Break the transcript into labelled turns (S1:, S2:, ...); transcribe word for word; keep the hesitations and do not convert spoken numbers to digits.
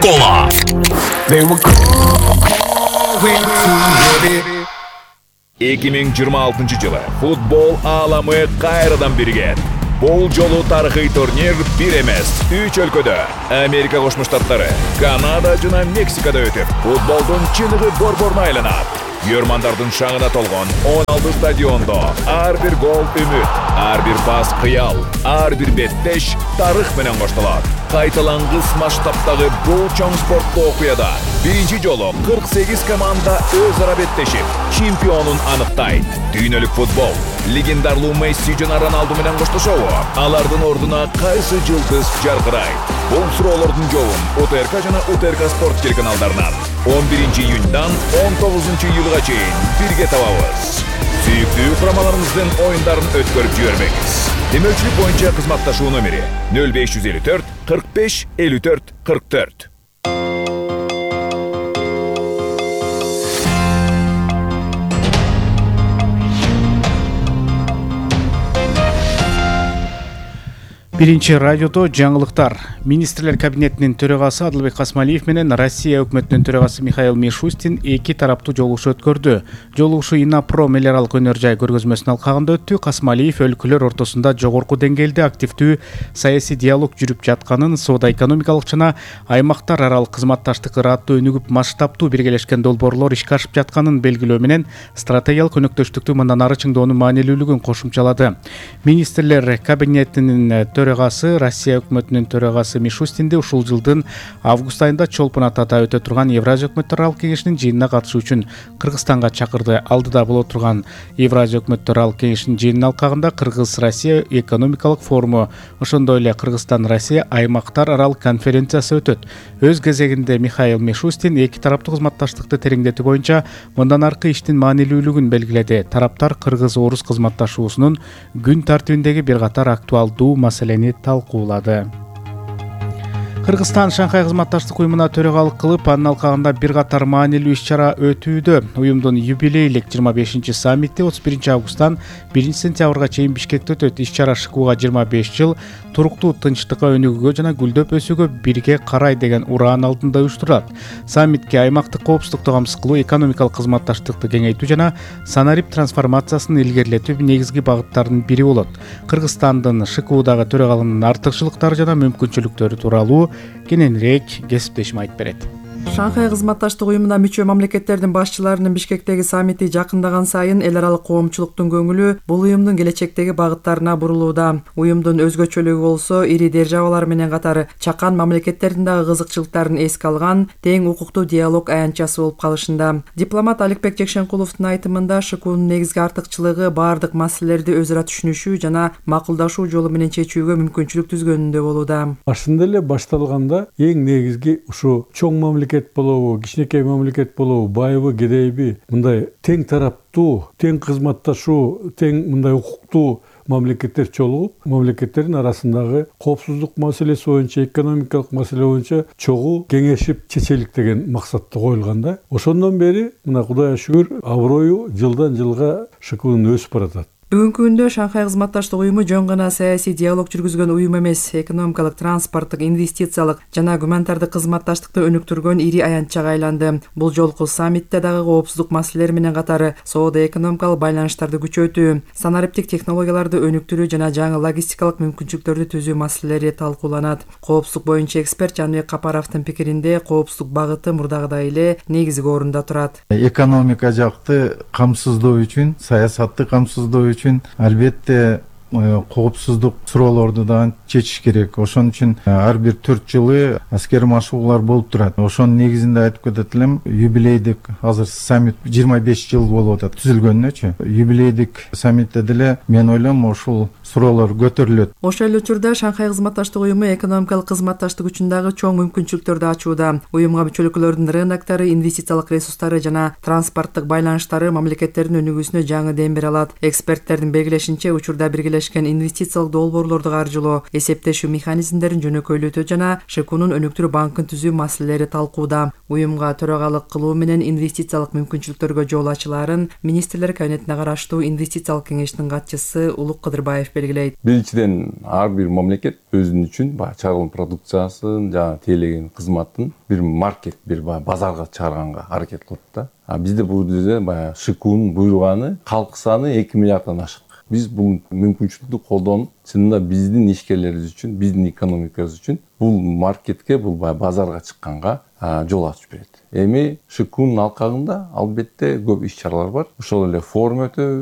S1: Кола. эки миң жыйырма алтынчы жылы футбол ааламы кайрадан бирген. Бул жолу тарыхый турнир бир эмес, үч өлкөдө Америка Кошмо Штаттары, Канада жана Мексикада өтүп, футболдун чыныгы борборуна айланат. Көрмандардын шаңына толгон он алты стадиондо ар бир гол үмүт, ар бир пас кыял, ар бир беттеш тарых менен коштолот. Кайталангыс масштабтагы бул чоң спорттуу окуяда биринчи жолу кырк сегиз команда өз ара беттешип, чемпионун аныктайт. Дүйнөлүк футбол легендарлуу Месси жана Роналду менен коштошобу? Алардын ордуна кайсы жылдыз жаркырайт? Бул суроолордун жообун УТРК жана УТРК спорт телеканалдарынан он биринчи июньдан он тогузунчу июлга чейин бирге табабыз. Сүйүктүү курамаларыбыздын оюндарын өткөрүп жибербеңиз. Демөөлчүлүк боюнча кызматташуу номери нөл беш жүз элүү төрт кырк беш элүү төрт кырк төрт.
S2: Биринчи радиодо жаңылыктар. Министрлер кабинетинин төрагасы Адылбек Касмалиев менен Россия өкмөтүнүн төрагасы Михаил Мишустин эки тараптуу жолугушуу өткөрдү. Жолугушуу Инапро мелиоралдык өнөр жай көргөзмөсүнүн алкагында өттү. Касмалиев өлкөлөр ортосунда жогорку деңгээлде активдүү саясий диалог жүрүп жатканын, соода-экономикалык жана аймактар аралык кызматташтык ыраттуу өнүгүп, масштабтуу биргелешкен долбоорлор ишке ашып жатканын белгилөө менен стратегиялык өнөктөштүктү мындан ары чыңдоонун маанилүүлүгүн кошумчалады. Министрлер кабинетинин төрагасы Россия өкмөтүнүн төрагасы Мишустинди ушул жылдын август айында Чолпон Атада өтө турган Евразия өкмөттөр аралык кеңешинин жыйынына катышуу үчүн Кыргызстанга чакырды. Алдыда боло турган Евразия өкмөттөр аралык кеңешинин жыйынынын алкагында Кыргыз-Россия экономикалык форуму, ошондой эле Кыргызстан-Россия аймактар аралык конференциясы өтөт. Өз кезегинде Михаил Мишустин эки тараптуу кызматташтыкты тереңдетүү боюнча мындан аркы иштин маанилүүлүгүн белгиледи. Тараптар кыргыз-орус кызматташуусунун күн тартибиндеги бир катар актуалдуу маселени талкуулады. Кыргызстан Шанхай кызматташтык уюмуна төрагалык кылып, анын алкагында бир катар маанилүү иш-чара өтүүдө. Уюмдун юбилейлик жыйырма бешинчи саммити отуз биринчи августтан биринчи сентябрга чейин Бишкекте өтөт. Иш-чара ШКУга жыйырма беш жыл туруктуу тынчтыкка, өнүгүүгө жана гүлдөп өсүүгө бирге карай деген ураан алдында уюштурулат. Саммитке аймактык коопсуздукту камсыз кылуу, экономикалык кызматташтыкты кеңейтүү жана санарип трансформациясын илгерилетүү негизги багыттардын бири болот. Кыргызстандын ШКУдагы төрагалыгынын артыкчылыктары жана мүмкүнчүлүктөрү тууралуу кененирээк кесиптешим айтып берет.
S3: Шанхай кызматташтык уюмуна мүчө мамлекеттердин башчыларынын Бишкектеги саммити жакындаган сайын эл аралык коомчулуктун көңүлү бул уюмдун келечектеги багыттарына бурулууда. Уюмдун өзгөчөлүгү болсо ири державалар менен катары чакан мамлекеттердин дагы кызыкчылыктарын эске алган тең укуктуу диалог аянтчасы болуп калышында. Дипломат Аликбек Жекшенкуловдун айтымында ШКУнун негизги артыкчылыгы баардык маселелерди өз ара түшүнүшүү жана макулдашуу жолу менен чечүүгө мүмкүнчүлүк түзгөнүндө болууда.
S4: Башында эле башталганда эң негизги ушу чоң мамлекет болобу, кичинекей мамлекет болобу, байыбы, кедейби, мындай тең тараптуу, тең кызматташуу, тең мындай укуктуу мамлекеттер чогулуп, мамлекеттердин арасындагы коопсуздук маселеси боюнча, экономикалык маселе боюнча чогуу кеңешип чечелик деген максатта коюлган да. Ошондон бери мына Кудайга шүгүр аброю жылдан жылга ШКУнун өсүп баратат.
S3: Бүгүнкү күндө Шанхай кызматташтык уюму жөн гана саясий диалог жүргүзгөн уюм эмес, экономикалык, транспорттук, инвестициялык жана гуманитардык кызматташтыкты өнүктүргөн ири аянтчага айланды. Бул жолку саммитте дагы коопсуздук маселелери менен катары соода-экономикалык байланыштарды күчөтүү, санариптик технологияларды өнүктүрүү жана жаңы логистикалык мүмкүнчүлүктөрдү түзүү маселелери талкууланат. Коопсуздук боюнча эксперт Жаныбек Капаровдун пикиринде коопсуздук багыты мурдагыдай эле негизги орунда турат.
S5: Экономика жакты камсыздоо үчүн, саясатты камсыздоо үчүн албетте коопсуздук суроолорду да чечиш керек. Ошон үчүн ар бир төрт жылы аскер машыгуулар болуп турат. Ошонун негизинде айтып кетет элем, юбилейдик азыр саммит жыйырма беш жыл болуп атат түзүлгөнүнөчү. Юбилейдик саммитте деле мен ойлойм ушул суроолор көтөрүлөт.
S3: Ошол эле учурда Шанхай кызматташтык уюму экономикалык кызматташтык үчүн дагы чоң мүмкүнчүлүктөрдү ачууда. Уюмга мүчө өлкөлөрдүн рыноктары, инвестициялык ресурстары жана транспорттук байланыштары мамлекеттердин өнүгүүсүнө жаңы дем бере алат. Эксперттердин белгилешинче, учурда биргелешкен Бирлешкен инвестициялык долбоорлорду каржылоо, эсептешүү механизмдерин жөнөкөйлөтүү жана ШКУнун өнүктүрүү банкын түзүү маселелери талкууда. Уюмга төрагалык кылуу менен инвестициялык мүмкүнчүлүктөргө жол ачылаарын министрлер кабинетине караштуу инвестициялык кеңештин катчысы Улук Кыдырбаев белгилейт.
S6: Биринчиден, ар бир мамлекет өзүнүн үчүн баягы чыгарылган продукциясын жана тейлеген кызматын бир маркет, бир базарга чыгарганга аракет кылат да. А бизде бул жерде баягы ШКУнун буйруганы калк саны эки миллиарддан ашык. Биз бул мүмкүнчүлүктү колдонуп, чынында биздин ишкерлерибиз үчүн, биздин экономикабыз үчүн бул маркетке, бул базарга чыкканга жол ачып берет. Эми ШКУнун алкагында албетте көп иш чаралар бар. Ошол эле форум өтөбүз.